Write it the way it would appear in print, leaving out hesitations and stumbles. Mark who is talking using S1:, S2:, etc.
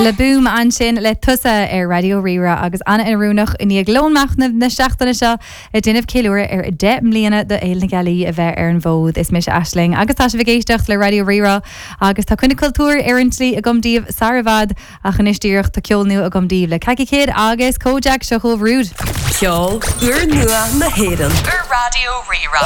S1: Le Boom ansin le Tusa ar Raidió Rí-Rá agus an-oiriúnach i ndiaidh lón machnaimh na seachtaine seo ag déanamh ceiliúradh ar 10 mbliana do Fhéile na Gealaí a bheith ar an bhfód. Is mise Aisling agus tá sibh ag éisteacht le Raidió Rí-Rá agus tá coinne cultúir ar an tslí agam daoibh sar i bhfad ach anois díreach tá ceol nua agam daoibh le Kaki Kid agus Kojaque, seo chugaibh Rude.
S2: Ceol úrnua na hÉireann.
S3: Ar Raidió Rí-Rá.